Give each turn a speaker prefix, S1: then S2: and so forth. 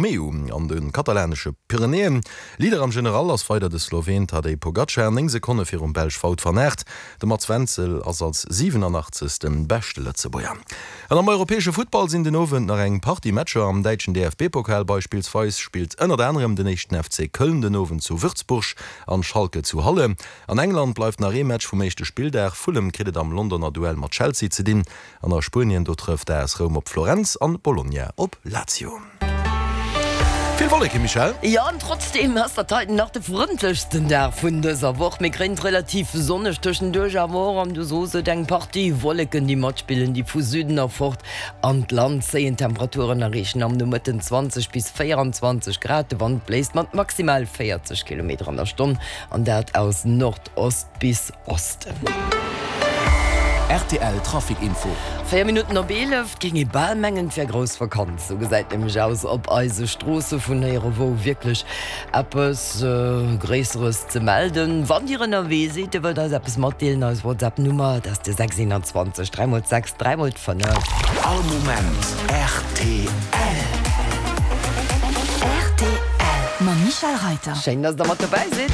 S1: Romeu an de katalanesche Pyrenäen. Leader am General ass weider de Sloween Tadej Pogacar, 9 Sekonne virum Belsch Wout van Aert. De Mats Wenzel ass als 87. Beschte Lëtzebuerger. An am europäesche Futtball sinn den Owend nach eng Partie Matcher. Am däitschen DFB-Pokal beispillsweis spillt ënnert anerem den éischten FC Köln den Owend zu Würzburg an Schalke zu Halle. An England bleift nach ee Match vum éischte Spilldag. Fulham kritt et am Londoner Duell mat Chelsea ze dinn. An a Spuenien, do trëfft AS Roum op Florenz an Bologna op Lazio. Vill Wolleken, Michèle?
S2: Jo, an trotzdeem ass dat heiten nach de frëndlechsten Dag vun dëser Woch. Mir kréien et relativ sonneg tëschenduerch, awer och, an du sos et, eng Partie Wolleken, déi matspillen, déi vu Süden erfort an d'Land zéien. D'Temperaturen erreechen am Nomëtten 20 bis 24 Grad, de Wand bléist mat maximal 40 Kilometer an der Stonn, an dat aus Nordost bis Osten.
S3: Rtl Trafic Info.
S2: 4 Minutten op 11, 't géing ee bal mengen, 't wär grouss Vakanz. Sou gesäit nämlech aus op eise Stroosse vun néierewou wierklech eppes Gréisseres ze melden. Wann Dir ënnerwee sidd, Dir wëllt eis eppes matdeelen, eis WhatsApp Nummer, dat ass de 6 21 3 mol 6 3 mol 5.
S3: All Moment rtl.
S4: Rtl mam Michèle Reiter.
S2: Schéin, dass Der mat dobäi sidd.